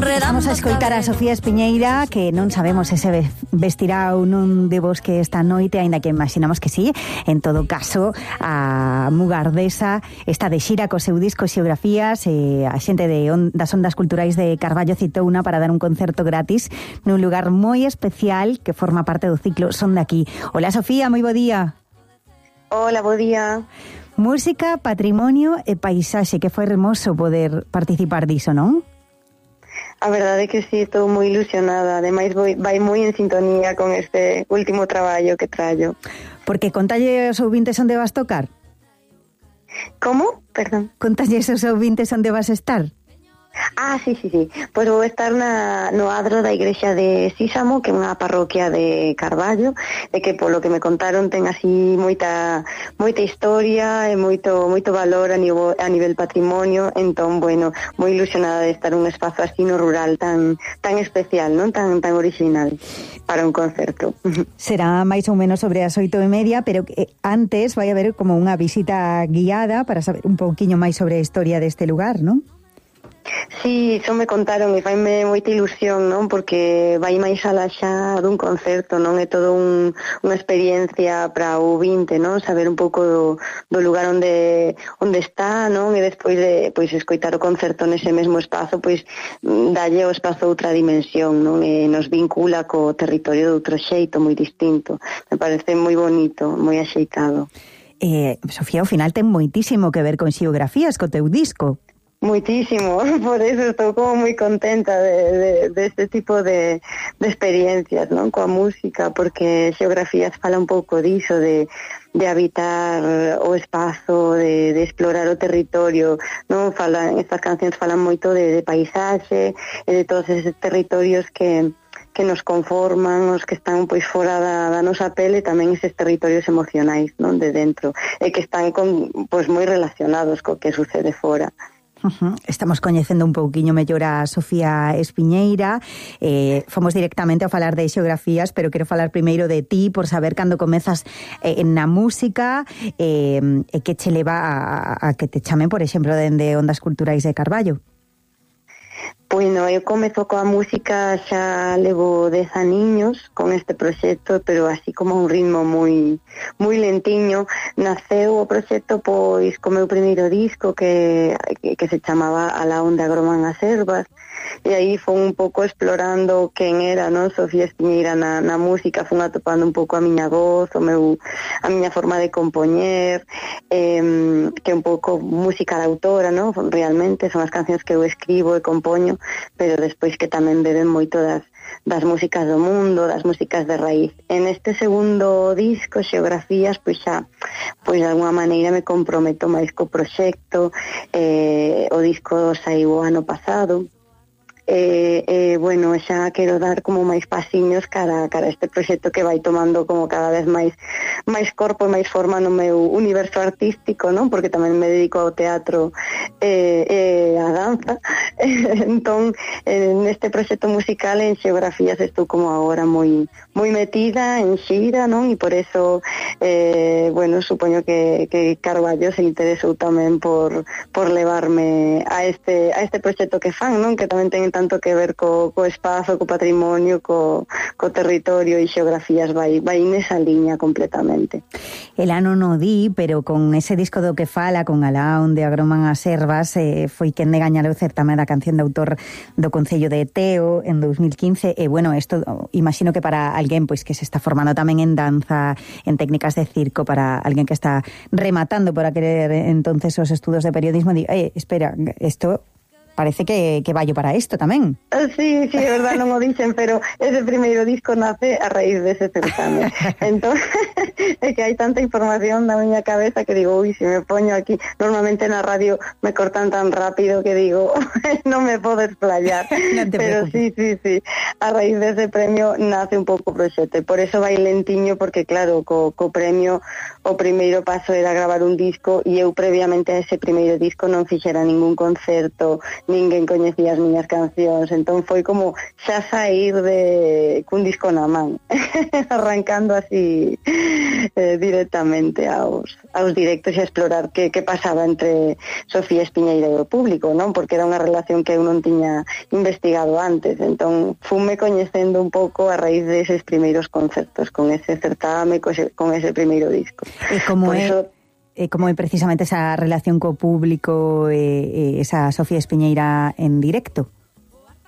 Vamos a escoitar a Sofía Espiñeira, que non sabemos se vestirá ou non de bosque esta noite, aínda que imaginamos que sí. En todo caso, a Mugardesa está de xira co seu disco Xeografías, a xente das Ondas Culturais de Carballo citouna para dar un concerto gratis nun lugar moi especial que forma parte do ciclo Son de Aquí. Hola Sofía, moi bo día. Hola, bo día. Música, patrimonio e paisaxe, que foi hermoso poder participar diso, non? A verdade é que sí, estou moi ilusionada. Ademais, vai moi en sintonía con este último traballo que traio. Porque contalle aos ouvintes onde vas tocar? Como? Perdón. Contalle aos ouvintes onde vas estar? Ah, sí. Pois vou estar no adro da igrexa de Sísamo, que é unha parroquia de Carballo, e que polo que me contaron ten así moita historia e moito valor a nivel patrimonio. Entón, bueno, moi ilusionada de estar un espazo así no rural tan especial, non tan original para un concerto. Será máis ou menos sobre as 8:30, pero antes vai haber como unha visita guiada para saber un pouquiño máis sobre a historia deste lugar, non? Sí, iso me contaron e faime moita ilusión, non? Porque vai máis alá xa dun concerto, non? É todo unha experiencia para o ouvinte, non? Saber un pouco do lugar onde está, non? E despois de escoitar o concerto nese mesmo espazo, dalle ao espazo outra dimensión, non? E nos vincula co territorio de outro xeito moi distinto. Me parece moi bonito, moi axeitado. Sofía, ao final ten moitísimo que ver con Xeografías, co teu disco. Muitísimo, por eso estou como moi contenta de este tipo de experiencias, non, coa música, porque Xeografías fala un pouco diso, de habitar o espazo, de explorar o territorio, non? Estas cancións falan moito de paisaxe e de todos esos territorios que nos conforman, os que están fora da nosa pele, tamén eses territorios emocionais, non, de dentro, e que están moi relacionados co que sucede fora. Estamos coñecendo un pouquiño mellor a Sofía Espiñeira. Fomos directamente a falar de Xeografías, pero quero falar primeiro de ti, por saber cando comezas na música e que che leva a que te chamen, por exemplo, dende Ondas Culturais de Carballo. Bueno, eu comezo coa música, xa levo 10 aniños con este proxecto, pero así como un ritmo moi lentiño. Naceu o proxecto co meu primeiro disco que se chamaba A la onde agroman as ervas, e aí foi un pouco explorando quen era, non, Sofía Espiñeira na música, fun atopando un pouco a miña voz, a miña forma de compoñer, que é un pouco música de autora, non? Realmente son as cancións que eu escribo e compoño, pero despois que tamén beben moito das músicas do mundo, das músicas de raíz. En este segundo disco, Xeografías, de alguma maneira me comprometo máis co proxecto. O disco saiu ano pasado. Bueno, xa quero dar como máis pasiños cara a este proxecto que vai tomando como cada vez máis corpo e máis forma no meu universo artístico, non? Porque tamén me dedico ao teatro e a danza. Entón, neste proxecto musical en Xeografías estou como agora moi metida en xira, non? E por eso, bueno, supoño que Carballo se interesou tamén por levarme a este proxecto que fan, non? Que tamén ten tanto que ver co espazo, co patrimonio, co territorio, e Xeografías vai nesa liña completamente. El ano no di, pero con ese disco do que fala, con Alá onde agroman as ervas, foi quen de gañar o certame da canción de autor do Concello de Teo en 2015, e bueno, isto imagino que para alguén que se está formando tamén en danza, en técnicas de circo, para alguén que está rematando por querer entonces os estudos de periodismo, espera, isto parece que vallo para isto tamén. Sí, é verdad, non o dixen, pero ese primeiro disco nace a raíz dese certame. Entón, é que hai tanta información na miña cabeza que digo, se me poño aquí, normalmente na radio me cortan tan rápido que digo, non me podo explayar. No te pero preocupes. sí. a raíz dese premio nace un pouco o proxecto, e por eso vai lentiño, porque claro, co premio o primeiro paso era gravar un disco, e eu previamente a ese primeiro disco non fixera ningún concerto, ninguén coñecía as miñas cancións, entón foi como xa sair cun disco na man, arrancando así directamente aos directos e a explorar que pasaba entre Sofía Espiñeira e o público, non? Porque era unha relación que eu non tiña investigado antes, entón fume coñecendo un pouco a raíz deses primeiros concertos, con ese certame, con ese primeiro disco. E como é precisamente esa relación co público, esa Sofía Espiñeira en directo?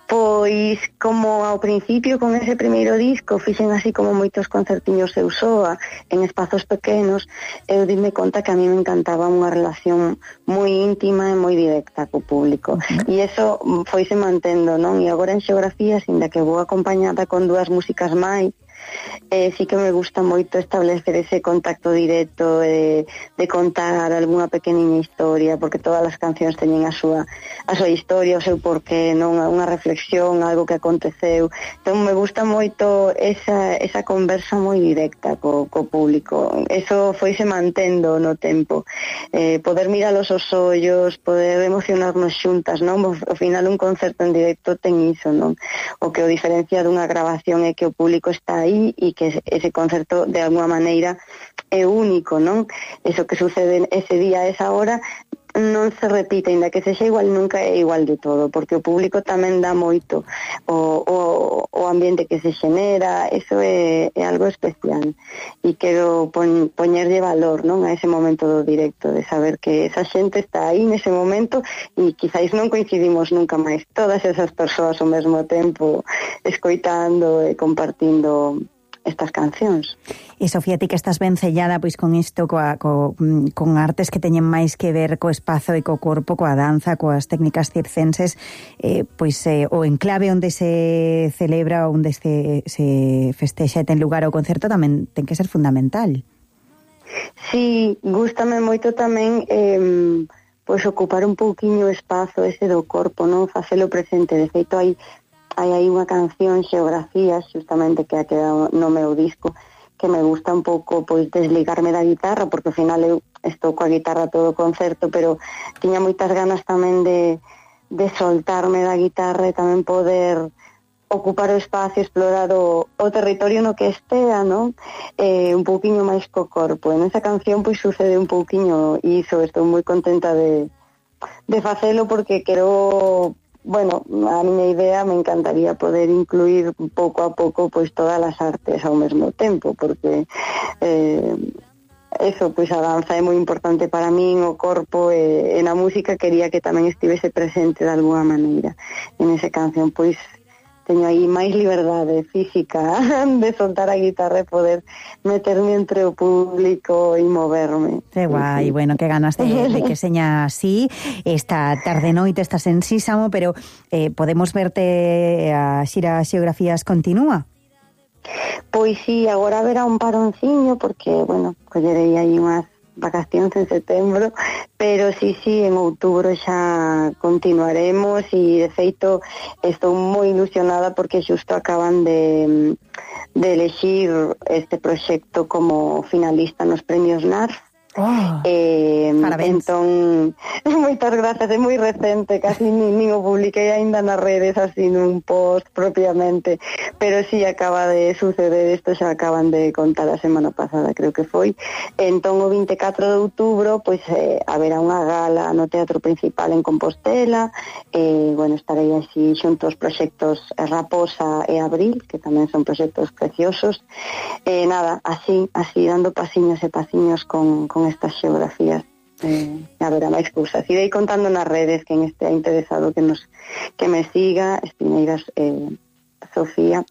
Pois, como ao principio con ese primeiro disco fixen así como moitos concertiños eu soa en espazos pequenos, eu dime conta que a mí me encantaba unha relación moi íntima e moi directa co público, e eso foise mantendo, non? E agora en Xeografías, inda que vou acompañada con 2 músicas máis, sí que me gusta moito establecer ese contacto directo, de contar algunha pequeniña historia, porque todas as cancións teñen a súa historia, o seu porqué, non? Unha reflexión, algo que aconteceu. Entón me gusta moito esa conversa moi directa co público. Eso foise mantendo no tempo. Poder miralos os ollos, poder emocionarnos xuntas, non? Ao final un concerto en directo ten iso, non? O que o diferencia dunha grabación é que o público está aí e que ese concerto de alguma maneira é único, non? Eso que sucede ese día, a esa hora, non se repite, ainda que sexa igual, nunca é igual de todo, porque o público tamén dá moito o ambiente que se xenera, eso é algo especial, e quero poñerlle valor, non, a ese momento do directo, de saber que esa xente está aí nese momento e quizáis non coincidimos nunca máis, todas esas persoas ao mesmo tempo escoitando e compartindo estas cancións. E Sofía, ti que estás ben sellada pois con isto, con artes que teñen máis que ver co espazo e co corpo, coa danza, coas técnicas circenses, o enclave onde se celebra, onde se festexa e ten lugar o concerto tamén ten que ser fundamental. Sí, gústame moito tamén pois ocupar un pouquiño o espazo ese do corpo, non? Facelo presente. De feito, hai unha canción, Xeografías, justamente que ha quedado no meu disco, que me gusta un pouco pois desligarme da guitarra, porque ao final eu estou coa guitarra todo o concerto, pero tiña moitas ganas tamén de soltarme da guitarra e tamén poder ocupar o espacio, explorar o territorio no que estea, non? Un pouquiño máis co corpo. En esa canción pois sucede un pouquiño iso, estou moi contenta de facelo, porque quero... Bueno, a miña idea me encantaría poder incluir pouco a pouco pois todas as artes ao mesmo tempo, porque eso, pois a danza é moi importante para min, o corpo, e na música quería que tamén estivese presente de alguna maneira. En esa canción pois teño aí máis liberdade física de soltar a guitarra e poder meterme entre o público e moverme. Que guai, sí. Bueno, que ganas de que seña así. Esta tarde noite estás en Sísamo, pero podemos verte a xira Xeografías continúa? Pois sí, agora haberá un paronciño, porque, bueno, collerei aí unhas vacacións en setembro, pero sí, en outubro xa continuaremos, e de feito estou moi ilusionada porque xusto acaban de elexir este proxecto como finalista nos premios NARF. Parabéns. Entón, moitas grazas, é moi recente, casi nin o publiquei aínda nas redes así nun post propiamente, pero sí acaba de suceder, isto xa acaban de contar a semana pasada, creo que foi. Entón o 24 de outubro pois haberá unha gala no Teatro Principal en Compostela, bueno, estarei así xunto aos proxectos Raposa e Abril, que tamén son proxectos preciosos, nada, así dando pasiños e pasiños con estas xeografías, haberá máis cousas. Irei contando nas redes, quen estea interesado que me siga, Espiñeiras Sofía,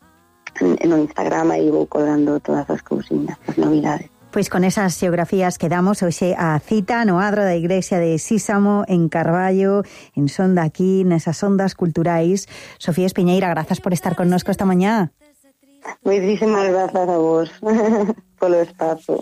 no Instagram, aí vou colgando todas as cousiñas, as novidades. Pois con esas xeografías quedamos hoxe a cita no adro da igrexa de Sísamo, en Carballo, en Sonda aquí, nesas ondas culturais. Sofía Espiñeira, grazas por estar connosco esta mañá. Moitísimas grazas a vos polo espazo.